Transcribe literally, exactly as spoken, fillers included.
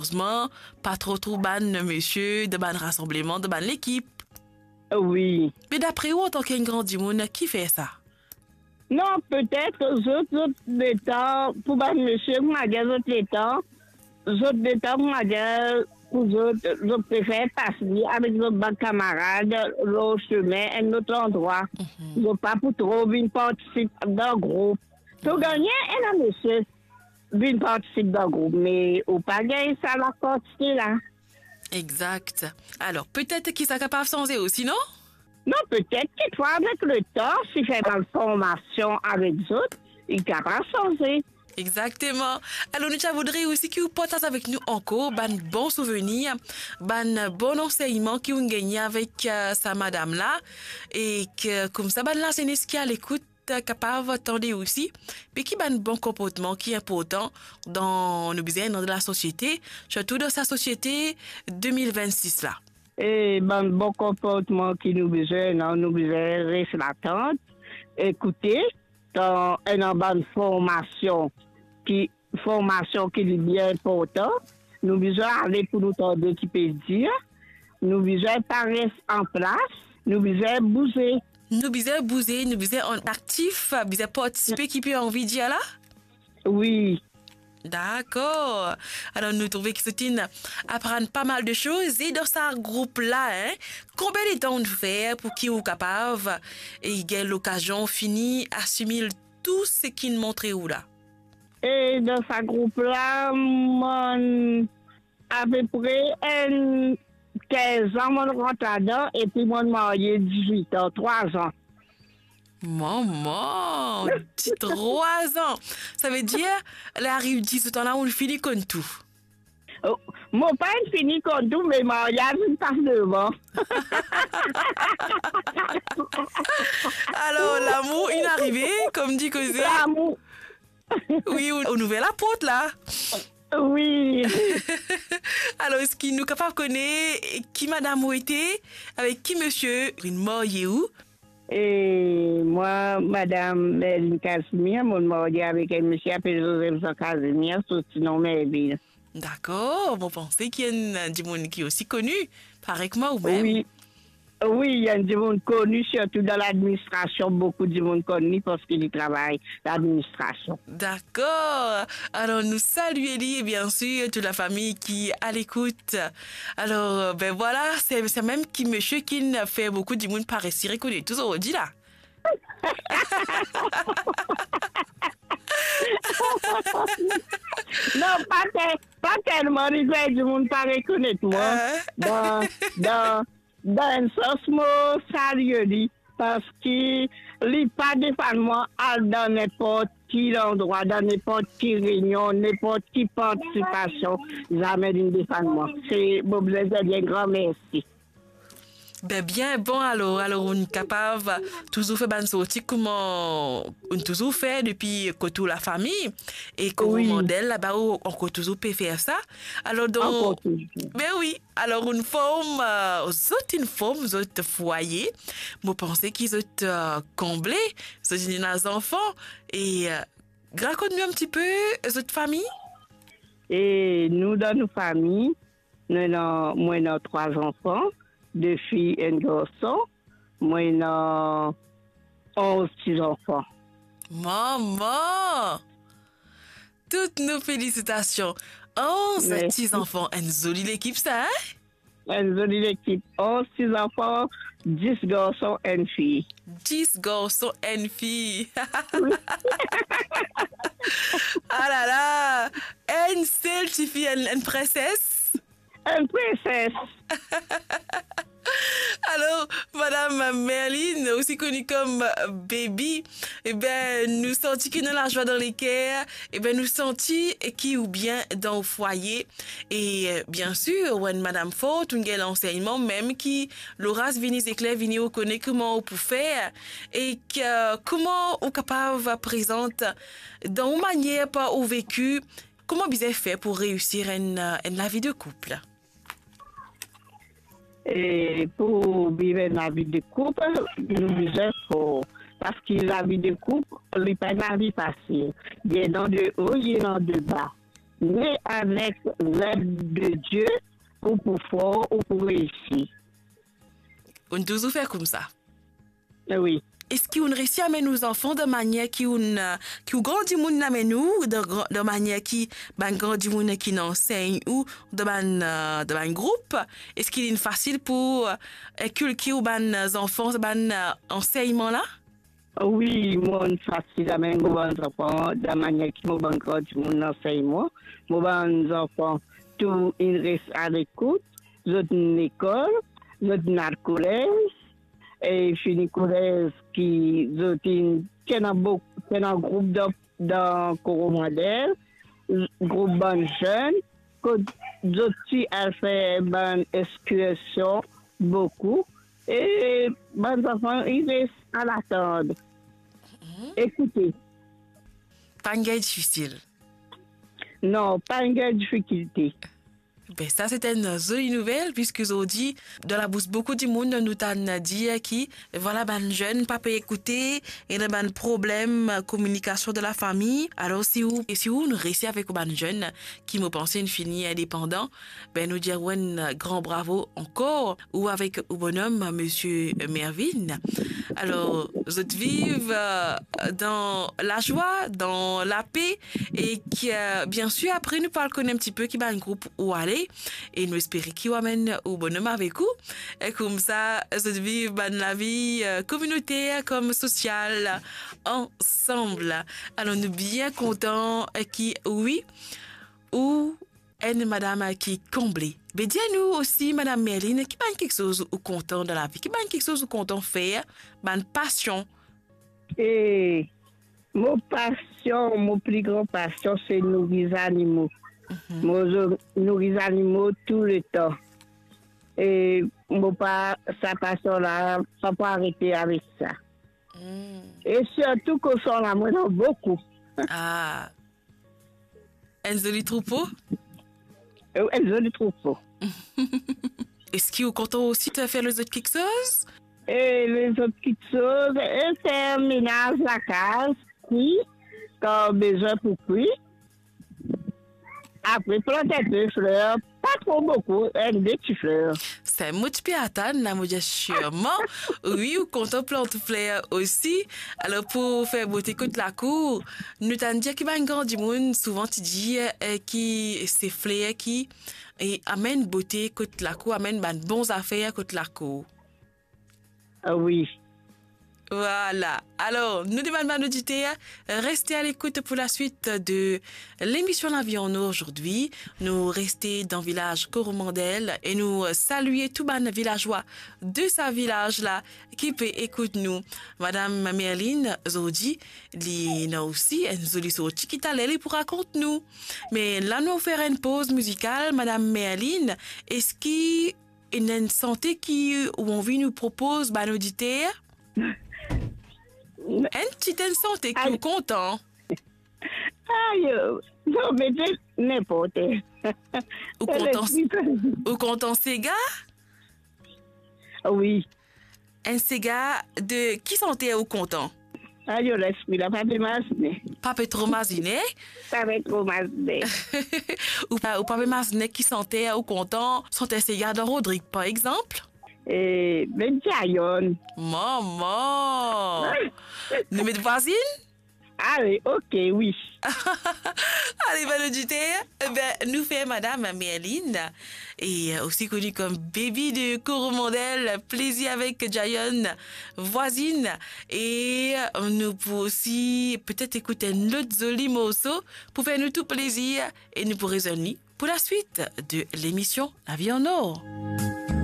Erezman, pa tro trouv bann misie dan bann rasanbleman, dan bann lekip. Wi. Me dapre ou, antan ki enn gran dimoun, ki fer sa? Non, petet zot, zot letan, pou bann misie, kouma dir, zot letan, zot letan, kouma dir, pou zot, zot prefer pas li avek zot bann kamarad lor sime, enn lot landrwa. Mhm. Zot pa pou tro vinn partisip dan group. To gagn ena misie vinn partisip dan group, me ou pa gagn sa lakantite la. Exact. Alor, petet ki sa kapav sanze osi, non? Non, petet ki twa, avek letan, si fer bann formasion avek zot, li kapav sanze. Exactement. Alor, nou ti a voudre osi ki ou partaz avek nou ankor bann bon souvenir, bann bon ansegnman ki ou gagne avek, euh, sa madam la, e ki, koumsa, bann lazenes ki a lekout kapav tande osi, me ki bann bon konportman ki inportan dan nou bizin dan lasosiete, sirtou dan sa sosiete de mil vennsis la. E bann bon konportman ki nou bizin, non, nou bizin res latant, ekoute, kan ena bann formasion ki, formasion ki li bien inportan, nou bizin ale pou nou tande ki pe dir, nou bizin pa res anplas, nou bizin bouze. Nou bizin bouze, nou bizin an-, aktif, bizin partisipe, ki pe anvi dir la? Wi. Dakor. Alor, nou trouve ki zot inn aprann pa mal de soz. E dan sa group la, hein, konbien letan ou fer pou ki ou kapav, e, gagn lokazion fini asimil tou seki inn montre ou la? E dan sa group la, mwa, apepre enn kinz an, mo rant ladan, epi mo marye dizwit an, trwa zan. Mama, ti trwa zan. Savedir, ler ariv dizwit an la, ou fini konn tou. Oh, mo pa inn fini konn tou, me maryaz inn pas devan. Alor, lamour inn arive, kouma dir koze. Lamour. Wi, ou, ou ouver laport la. Wi. Alor, eski nou kapav kone ki madam ou ete, avek ki misie ou inn marye ou? E mwa, madam Merline Casimir, mo marye avek enn misie apel Joseph Jean Casimir, so sinon Merville. Dakor, mo panse ki enn dimoun ki osi koni, parey kouma ou mem. Wi. Wi, li enn dimoun koni, sirtou dan ladministrasion, boukou dimoun konn li parski li travay ladministrasion. Dakor. Alor, nou salie li e biensir tou lafami ki a lekout. Alor, ben vwala, se, se mem ki misie ki'nn fer boukou dimoun pa resi rekonet ou zordi la. Non, pa tel-, pa telman li fer dimoun pa rekonet mwa. Ah. Dan, dan, dan enn sans, mo salie li, parski li pa defann mwa al dan ninport ki landrwa, dan ninport ki reynion, ninport ki partisipasion, zame li'nn defann mwa. Se, mo bizin dir li enn gran mersi. Ben, bien bon, alor, alor, ou'nn kapav touzour fer bann sorti kouma ou'nn touzour fer depi kot ou lafami, e kot ou Wi. Mandel laba, ou ankor touzour pe fer sa. Alor, donk, Ankor touzour. Ben wi, alor, ou'nn form, euh, zot inn form zot fwaye. Mo panse ki zot, euh, konble, zot inn ena zanfan, e, euh, rakont nou enn tipe zot fami. E nou, dan nou fami, nou ena, mwa ena trwa zanfan, de fi, enn garson, mwa ena onz ti zanfan. Mama! Tout nou felisitasion. Onz Mersi. Ti zanfan, enn zoli lekip sa, hein? Enn zoli lekip. Onz ti zanfan, dis garson, enn fi. Dis garson, enn fi. Wi. Ah la la! Enn sel tifi, enn, enn prinses. Enn prinses. Alor, madam Merline, osi koni kom Baby, e ben, nou santi ki ena lazwa dan leker, e ben, nou santi ki ou bien dan ou fwaye, e, euh, biensir, ou enn madam for, ou gagn lansegnman, mem ki loraz vini, zekler vini, ou kone kouma ou pou fer, e ki, euh, kouma ou kapav prezant dan ou manier par ou veki, kouma bizin fer pou reisir enn, euh, enn lavi de koup? E pou viv enn lavi de koup, nou bizin for. Parski lavi de koup, li pa enn lavi fasil. Li ena de o, li ena de ba. Me avek led de Die, ou pou for, ou pou reisi. Ou touzour fer koumsa. Wi. Eski ou resi amenn ou zanfan dan manier ki ou, ki ou gran dimoun amenn ou, dan gran, dan manier ki bann gran dimoun ki inn ansegn ou dan bann, eh, dan bann group? Eski li fasil pou, eh, inkilke ou bann zanfan sa bann, eh, ansegnman la? Wi, mo fasil amenn mo bann zanfan dan manier ki mo bann gran dimoun ansegn mwa. Mo bann zanfan tou inn res alekout, zot inn lekol, zot inn al kolez, e fini kolez ki zot inn, ti ena bok-, ti ena group dan, dan Koromandel, group bann zenn, kot zot ti al fer bann ekskursion boukou, e bann zanfan inn res al atann. Mhm. Ekoute. Pa'nn gagn difisil? Non, pa'nn gagn difikilte. Ben, sa, se enn zoli nouvel, piski zordi, dan labous boukou dimoun, nou tann dir ki, vwala, bann zenn pa pe ekoute, ena bann problem, eh, kominikasion dan lafami. Alor, si ou, e si ou, nou resi avek ou bann zenn, ki mo panse inn fini indepandan, ben, nou dir ou enn gran bravo ankor, ou avek ou bonom, misie Mervin. Alor, zot viv, eh, dan lazwa, dan lape, e ki, eh, biensir, apre nou pou al kone enn tipe ki bann group ou ale, e nou espere ki ou amenn ou bonom avek ou. E koumsa, zot viv bann lavi, eh, kominoter kom sosial ansam. Alor, nou bien kontan, eh, ki, wi, ou enn madam, eh, ki konble. Be, dir nou osi, Madam Merline, ki bann kiksoz ou kontan dan lavi? Ki bann kiksoz ou kontan fer? Bann pasion? E mo pasion, mo pli gran pasion, se nouri zanimo. Mhm. Mo zo-, nouri zanimo touletan. E mo pa, sa pasion la, pa pou arete avek sa. Hmm. E sirtou koson la, mo ena boukou. Ah. Enn zoli troupo? Wi, enn zoli troupo. Eski ou kontan osi fer lezot kiksoz? E lezot kiksoz, e fer menaz lakaz, kwi, kan bizin pou kwi. Apre plant enpe fler, pa tro boukou, enn de ti fler. Sa mo ti pe atann la, mo dir sirman, wi, ou kontan plant fler osi. Alor, pou fer bote kot lakour, nou tann dir ki bann gran dimoun souvan ti dir, eh, ki se fler ki, eh, amenn bote kot lakour, amenn bann bon zafer kot lakour. Ah wi. Vwala. Alor, nou demann bann oditer, reste a lekout pou laswit de lemision Lavi an Or zordi. Nou reste dan vilaz Koromandel e nou salie tou bann vilazwa de sa vilaz la ki pe ekout nou. Madam Merline, zordi, li ena osi enn zoli sorti ki taler li pou rakont nou. Me la nou fer enn poz mizikal. Madam Merline, eski ena enn sante ki ou anvi nou propoz bann oditer? Enn ti enn sante ki ou kontan? Ayo, non, mete ninport. Ou kontan, ou kontan sega? Wi. Enn sega de ki sante ou kontan? Ayo, lespri la pa pe mazine. Pa pe tro mazine? Pa pe tro mazine. Ou pa, ou pa pe mazine ki sante ou kontan, sante sega dan Rodrig, par exanp? E, met Jayon. Mama! Nou met Vwazinn? Ale, ok, wi. Ale, bann oditer, e ben, nou fer Madam Merline, e, eh, osi koni kom Baby de Koromandel, plezir avek Jayon, Vwazinn, e, eh, nou pou osi petet ekout enn lot zoli morso pou fer nou tou plezir, e nou pou rezwenn li pou laswit de lemision Lavi an Or.